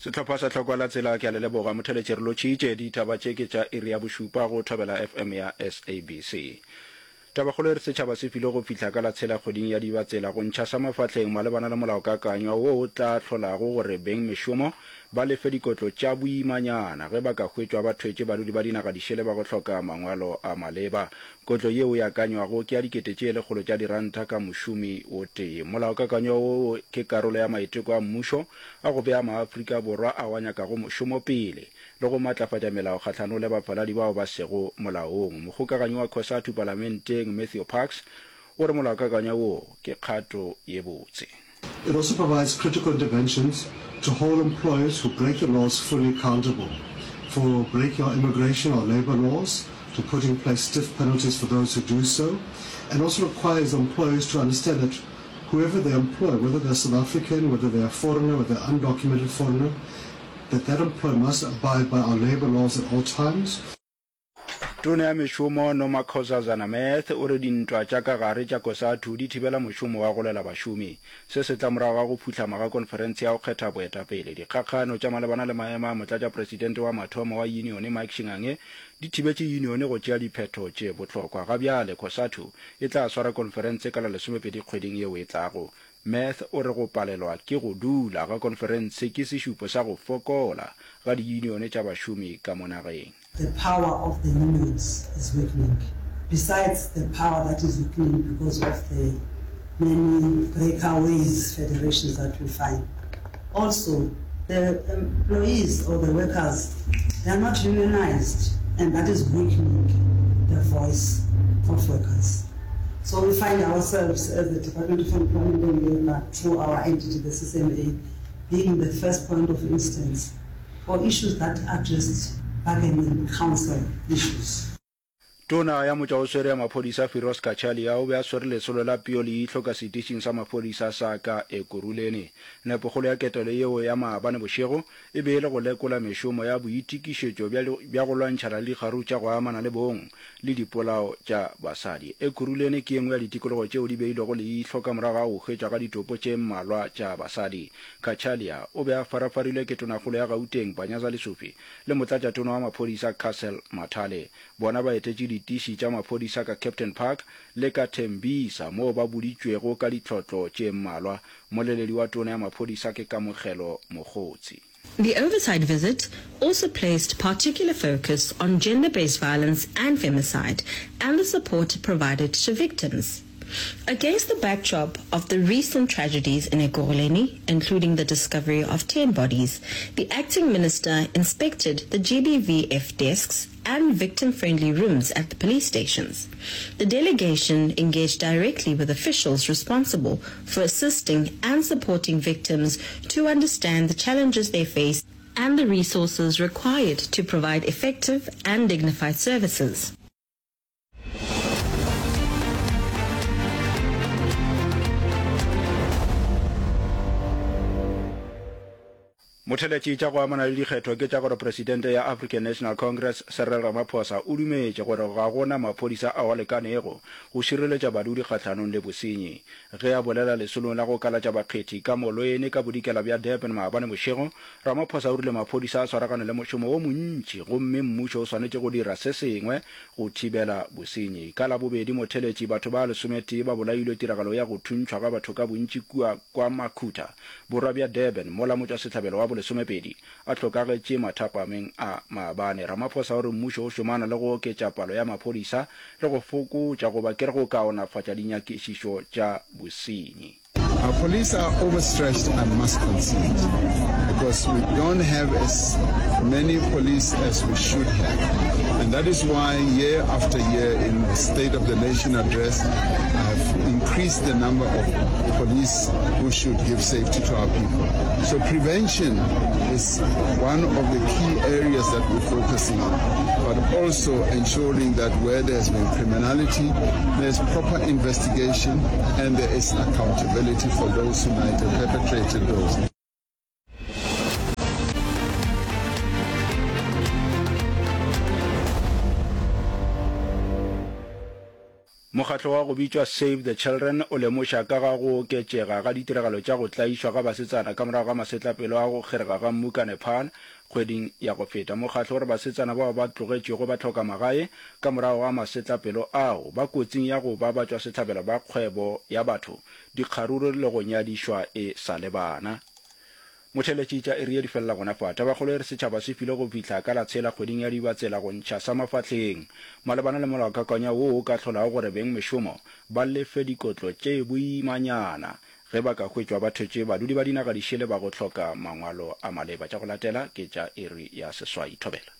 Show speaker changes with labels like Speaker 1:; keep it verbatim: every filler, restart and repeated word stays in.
Speaker 1: Sehlopha sa Tlhokwa la Tsela ke a le leboga. Motheletši re lotšhitše. Ditaba tše ke tša iri ya bošupa go Thobela F M ya S A B C. Tabakgolo e re setšhaba se filwe go fihla ka la tshela kgweding ya Dibatsela go ntšha sa mafahleng malebana le molaokakanywa wo o tla hlolago gore bengmešomo ba lefe dikotlo tša boimanyana ge ba ka hwetšwa ba thwetše badudi ba dinaga dišele ba go hloka mangwalo a maleba. Kotlo yeo e akanywago ke ya dikete tše lekgolo tša diranta ka mošomi o tee. Molaokakanywa wo ke karolo ya maiteko a mmušo a go bea Maafrika Borwa ao a nyakago mošomo pele le go matlafatša melao kgahlanong le bafaladi bao ba sego molaong. Mokgokaganyi wa COSATU palamenteng Matthew Parks o re molaokakanywa wo ke kgato ye botse.
Speaker 2: It also provides critical interventions to hold employers who break the laws fully accountable for breaking our immigration or labor laws, to put in place stiff penalties for those who do so, and also requires employers to understand that whoever they employ, whether they're South African, whether they're a foreigner, whether they're undocumented foreigner, that that employer must abide by our labor laws at all times.
Speaker 1: Tona ya Mešomo Nomakhosazana Meth o re dintwa tša ka gare tša COSATU di thibela mošomo wa go lwela bašomi. Se se tla morago ga go phuhlama ga konferense ya go kgetha boetapele. Dikgakgano tša malebana le maemo a motlatšapresidente wa mathomo wa yunione Mike Shingange di thibetše yunione go tšea diphetho tše bohlokwa. Ga bjale COSATU e tla swara konferense ka la lesomepedi kgweding yeo e tlago. Meth o re go palelwa ke go dula ga konferense ke sešupo sa go fokola ga diyunione tša bašomi ka mo nageng.
Speaker 3: The power of the unions is weakening, besides the power that is weakening because of the many breakaways federations that we find. Also, the employees or the workers, they are not unionized, and that is weakening the voice of workers. So we find ourselves as the Department of Employment and Labour through our entity, the C C M A, being the first point of instance for issues that are just bargaining council issues.
Speaker 1: Tona ya Motšwaoswere ya Maphodisa Firoz Cachalia o be a swere lesolo la peo leihlo ka setišing sa maphodisa sa ka Ekurhuleni. Nepokgolo ya ketelo yeo ya maabane bošego e be e le go lekola mešomo ya boitikišetšo bja bja go lwantšhana le dikgaruru tša go amana le bong le dipolao tša basadi. Ekurhuleni ke ye nngwe ya ditikologo tšeo di beilwego leihlo ka morago ga go hwetšwa ga ditopo tše mmalwa tša basadi. Cachalia o be a farafarilwe ke Tonakgolo ya Gauteng Panyaza Lesufi le Motlatšatona wa Maphodisa Cassel Mathale. Bona ba etetše ditiši tša maphodisa ka Kempton Park le ka Tembisa moo ba boditšwego ka ditlhotlo tše mmalwa. Mmoleledi wa Tona ya Maphodisa ke Kamogelo Mogotsi.
Speaker 4: The oversight visit also placed particular focus on gender-based violence and femicide and the support provided to victims. Against the backdrop of the recent tragedies in Ekurhuleni, including the discovery of ten bodies, the acting minister inspected the G B V F desks and victim-friendly rooms at the police stations. The delegation engaged directly with officials responsible for assisting and supporting victims to understand the challenges they face and the resources required to provide effective and dignified services.
Speaker 1: Motheletši tša go amana le dikgetho ke tša gore Presidente ya African National Congress Cyril Ramaphosa o dumetše gore ga go na maphodisa ao a lekanego go šireletša badudi kgahlanong le bosenyi. Ge a bolela lesolong la go kalatša bakgethi ka Molweni ka bodikela bja Durban maabane bošego, Ramaphosa o rile maphodisa a swaragane le mošomo wo montši gomme mmušo o swanetše go dira se sengwe go thibela bosenyi. Ka Labobedi motheletši batho ba lesometee ba bolailwe tiragalo ya go thuntšhwa ga batho ka bontši kua KwaMakhutha, borwa bja Durban, mola motšwasehlabelo wa bolesomepedi a hlokagetše mathapameng a maabane. Ramaphosa o re mmušo o šomana le go oketša palo ya maphodisa le go fokotša goba ke re go kaonafatša dinyakišišo tša bosenyi.
Speaker 5: Our police are overstretched, I must concede, because we don't have as many police as we should have. And that is why year after year in the State of the Nation address, I've increased the number of police who should give safety to our people. So prevention is one of the key areas that we're focusing on, but also ensuring that where there's been criminality, there's proper investigation and there is accountability for those who might have perpetrated those.
Speaker 1: Mokgatlo wa go bitšwa Save the Children o lemoša ka ga go oketšega ga ditiragalo tša go tlaišwa ga basetsana ka morago ga masetlapelo a go kgerega ga mmu ka Nepal kgweding ya go feta. Mokgatlo o re basetsana bao ba tlogetšwego ba hloka magae ka morago ga masetlapelo ao ba kotsing ya go ba batšwasehlabelo ba kgwebo ya batho, dikgaruru le go nyadišwa e sa le bana. Motheeletši tša iri ye di felela gona fa. Tabakgolo e re setšhaba se filwe go fihla ka la tshela kgweding ya Dibatsela go ntšha sa mafahleng malebana le molaokakanywa woo o ka hlolago gore bengmešomo ba lefe dikotlo tše boimanyana ge ba ka hwetšwa ba thwetše badudi ba dinaga dišele ba go hloka mangwalo a maleba. Tša go latela ke tša iri ya seswai. Thobela.